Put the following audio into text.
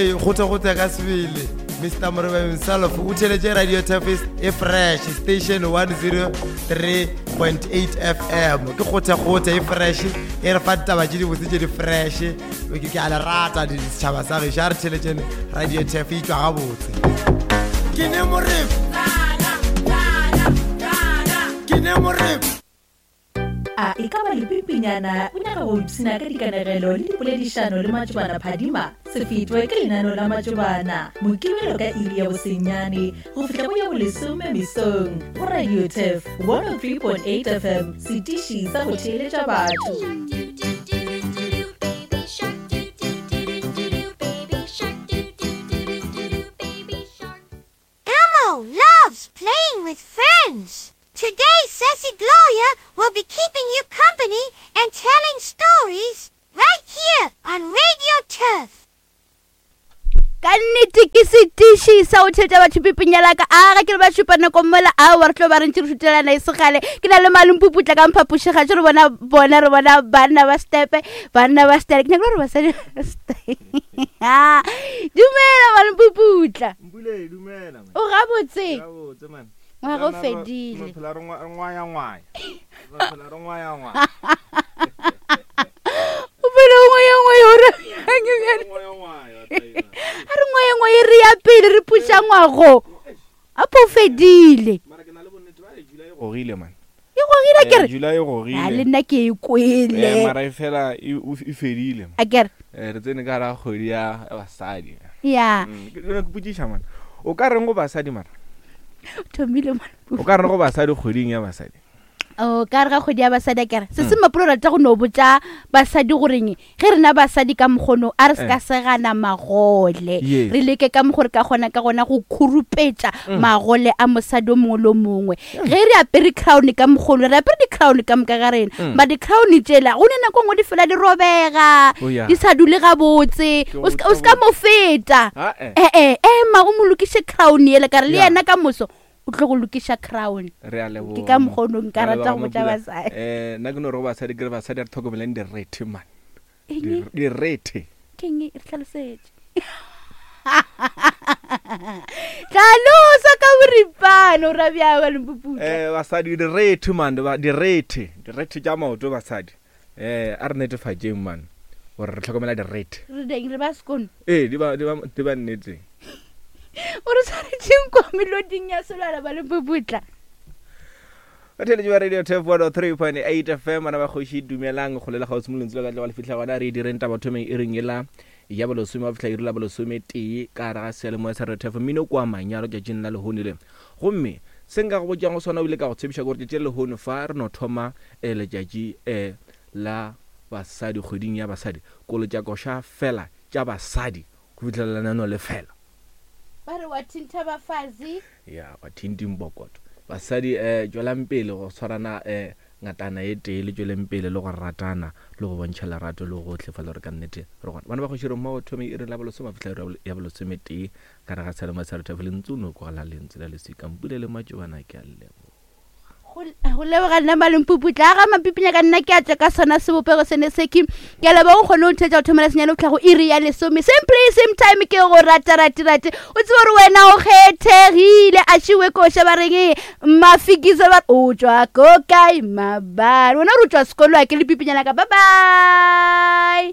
Kgotha-kgotha ka sebele Mr Moreba himself o theletše Radio Tafis e fresh station 103.8 FM ke kgotha-kgotha e fresh e re fa ditaba tše dibotse tše di fresh ke ke a le rata setšhaba sa gešo a re theletšeng Radio Taf e tšwa gabotse ke ne moreba ke ne moreba A e ka ba lepipinyana o nyaka go ipshina ka dikanegelo le dipoledišano le Matšobana Phadima? Se fetwe ke lenaneo la Matšobana, Mokibelo ka iri ya bosenyane go fihla go ya bolesome mesong go Radio Turf 103.8 FM, setiši sa go theeletša batho. Elmo loves playing with friends. Today, Sassy Gloria will be keeping you company and telling stories right here on Radio Turf. ka nnete ke setiši sa go theletša batho pipinyala ka a ga ke re ba šupa nako mola aowa re tlo ba re ntse re šutelana e segale ke na le malempuputla ka mphapošega tše re bona bona re bona banna ba stepe banna ba stele ke nyaka gore basadi ba stepe dumela malempuputla Mpule, dumela man. O gabotse. Gabotse man. Ngwaga o fedile. Re phela re ngwaya ngwaya. Re phela re ngwaya ngwaya. O phela o ngwaya ngwaya o ra bjang bjale? Ngwaya ngwaya. A re ngwaya ngwaya re ya pele re puša ngwago. Apo o fedile. Mara ke na le bonnete ba re July e gogile man. E gogile ke re. July e gogile. A le nna ke e kwele. Eh, mara e fela e, e fedile. A ke re. Eh, re tsene ka ra kgwedi ya basadi. Ya. Mm, ke ke potšiša man. O ka reng go basadi mara? Thomile man. O ka reng go basadi kgweding ya basadi? O ka re ga kgwedi ya basadi a kere se se mapolo rata go no botša basadi goreng ge rena basadi ka mokgono a re se ka eh. segana magole re leke ka mokgo re ka kgona ka gona go khurupetša mm. magole a mosadi o mongwe le o mongwe mm. ge re apere crown ka mokgono re apere di-crown ka moka ga rena mm. ba di-crown tšela go ne nako nngwe di fela di robega oh, di sa dule gabotse o se ka mo feta ee ema o mo lokiše crown ele ka re le yena ka moso o tlo go lokiša crown re a leboga ke ka mokgono nka Re a rata leboga go botša Mapula. basadi Eh, nna ke no re go basadi ke re basadi a re tlhokomeleng direthe man Eng? Dir- direthe ke eng re tlhalosetše tlhalosa ka boripana o rabjaba lempuputla Eh, basadi direthe man ba- direthe direthe tša maoto basadi eh a re netefatšeng man gore re tlhokomela direthe re deng re ba sekono ee di ba di ba di ba nneteng o re tshwanetseng kwa meloding ya selwana ba lempuputla batheletši ba radio tef 103.8 fm bana ba kgoši dumelang kgole le kgauswi mo lentswe la ka tloga le fitlha gona re e direng taba thomeng e reng ela ya bolesome wa fihla iri la bolesome tee ka gare ga seyalemoya sa radio tef mmino kwa manyalo tšatšing la lehono le gomme se nka go botšang go sona o ile ka go tshepiša gore tšatši la lehono fa re no thoma um letšatši um la basadi kgweding ya basadi kolo tša koša fela tša basadi go fihlela lenaneo le fela. Ba re wa thintha bafazi. Ya, wa thinting bokoto. Basadi eh tšwelang pele go swarana eh ngatana e tee le tšweleng pele le go ratana le go bontšha lerato le gohle fa le gore ka nnete re gona. Bana ba kgoši re mmogo thome iri la bolesome go fihla iri ya bolesometee ka re ga seyalemoya sa Rethafe Lentsu no kwagala lentswe la leswika Mpule le Matšobana ke a leboga. Go leboga nna Malempuputla a ga Mapipinya ka nna ke a tšwa ka sona sebopego sene seki ke a leboga o kgone go ntheetša go thomela senyane go tlhago iri ya lesome same place same time ke go rata rate rate o tsebe gore wena o kgethegile a šiwe koša ba reng mafikisa ba o tšwa ko kae mabare wena gore o tšwa sekolo a ke le pipinyana ka bye bye.